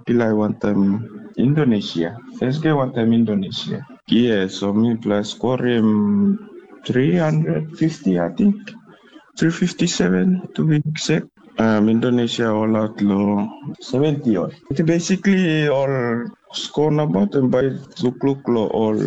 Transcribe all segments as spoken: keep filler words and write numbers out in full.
pilai wantaim Indonesia. First game wantaim Indonesia. Yeah, so mipela skorim three hundred fifty, I think. Three fifty seven, to be exact. Um, Indonesia all out lo seventy all. It basically all score nabaut em bai lukluk lo all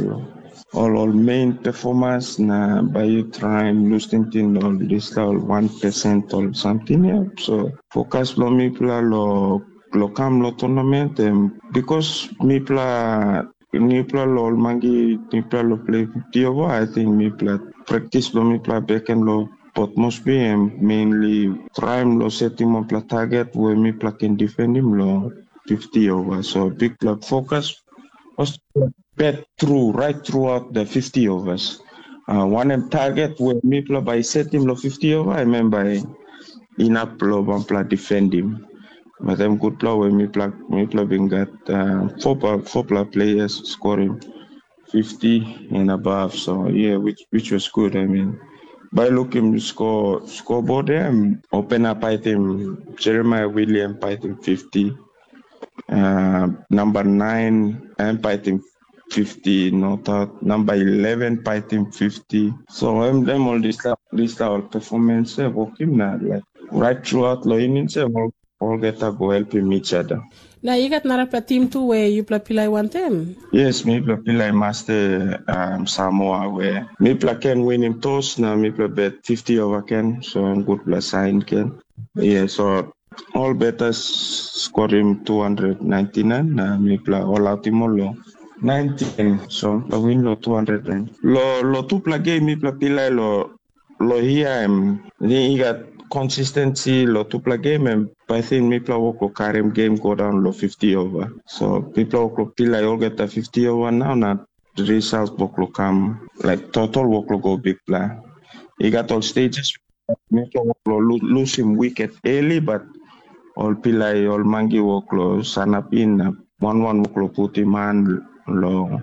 all all main performance na bai yu traim lus tingting ol dispela ol one percent ol samting ya. So fokus bilong mipela lo lo kam lo tournament em because mipela nipela lo ol mangi nipela lo play fifty over, I think mipela practice bilong mipela beken lo Port Moresby em mainly traim lo setim wanpela target we mipela ken defendim lo fifty over. So bikpela fokus was bet through right throughout the fifty overs. Uh, wanem target we mipela bai setim lo fifty over, em em bai inap lo wanpela defendim. But em gutpela we mipela mipela bin gat uh, four four players scoring fifty and above. So yeah, which which was good. I mean, by looking score scoreboard, yeah, open up I think Jeremiah William I think fifty. Uh, number nine, I think fifty, no doubt. Number eleven, I think fifty. So I'm them all this this our performance eh, working na like right throughout lo innings eh, all olgeta go helpim each other. Na i gat narapela tim tu we yupela pilai wantem? Yes, mipela pilai maste um, Samoa we mipela ken winim tos na mipela bet fifty over ken, so em gutpela sain ken. Yeah, so ol betas skorim two hundred ninety-nine na mipela ol autim ol lo nineteen, so mipela win lo two hundred nine. Lo lo tupela game mipela pilai lo lo hia em i gat consistency lo tupela game em pasin mipela wok lo karim game go daun lo fifty over. So mipela wok lo pilai olgeta fifty over nau na result wok lo kam like total wok lo go bikpela. I gat ol stages mipela wok lo lu- lusim wiket early but ol pilai ol mangi wok lo sanap in na wan wan wok lo putim han lo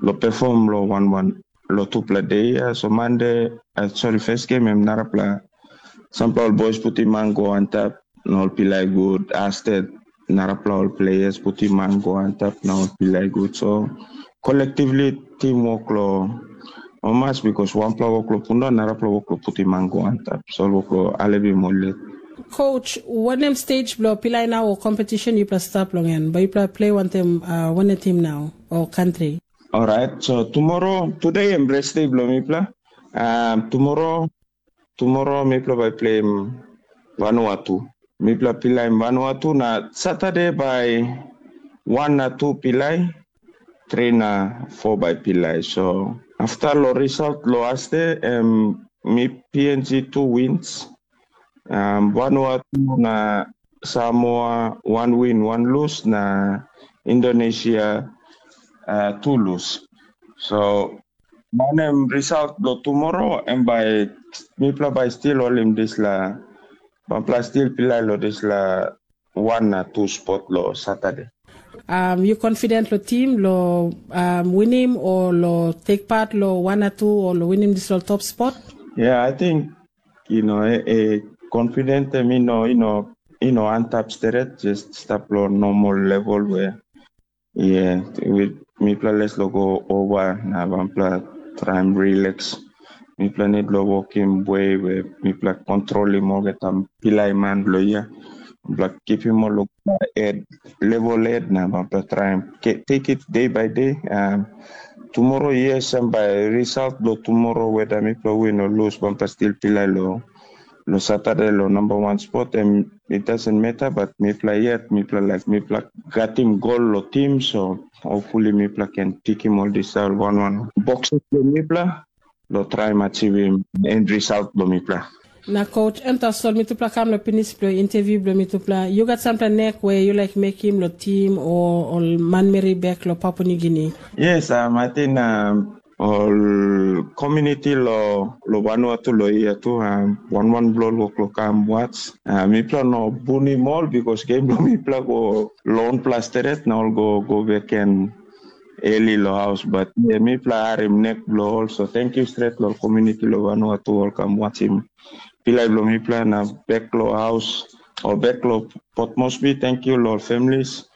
lo perform lo wan wan lo tupela de ya. So Mande, uh, sorry, first game em narapela sampela ol boys putim man go antap na ol pilai gut astet narapela ol players putim man go antap na ol pilai gut. So collectively team work lo omas because wanpela work lo punda narapela work lo putim man go antap. So ol work lo alevim ol let. Coach, wanem stage bilong pilai nau o competition yupela stap long en? Bai yupela play wantem uh, wanem team nau o country? Alright, so tomorrow, today em rest day bilong mipela. Um, tomorrow, tomorrow mipela bai play Vanuatu. Mipela pilaim Vanuatu na Saturday bai one na two pilai, three na four bai pilai. So after lo result lo aste, em mi P N G two wins, um, Vanuatu na Samoa one win, one lose, na Indonesia uh, two lose. So wanem result lo tomorrow em bai mipela bai still holim disla, mipela still pilai lo disla one na two spot lo Saturday. Um, you confident lo team lo um, winim o lo take part lo one na two o lo winim disla top spot? Yeah, I think you know, e, e confident em ino ino ino antap steret, just stap lo normal level where yeah, with mipela les lo go over na wanpela traim relax. Mipela need lo wokim we we mipela kontrolim olgeta pilai man bilong ia. Mipela kipim ol lo ed level ed na mipela traim take it day by day. Um, tomorrow yes, em bai result lo tomorrow weda mipela win o lose, mipela still pilai lo lo Saturday lo number one spot, em it doesn't matter, but mipela yet mipela like mipela gatim gol lo tim, so hopefully mipela can pikim ol disael one one boxes lo mipela lo traim achivim end result lo mipela. Na coach, em tasol mitupela kam lo pinis bilong interview bilong mitupela. You gat sampela nek we you like mekim lo team o ol manmeri bek lo Papua New Guinea? Yes, um, I think um, ol community lo lo Vanuatu lo ia tu, um, wan wan bilong ol wok lo kam watch. Uh, mipela no bunim ol because game bilong mipela go long pla steret na ol go go beken early lo haus, but yeah, mipela harim nek bilong ol. So thank you stret lo community lo Vanuatu ol kam watchim pilai bilong mipela na bek lo haus o bek lo Port Moresby. Thank you lo families.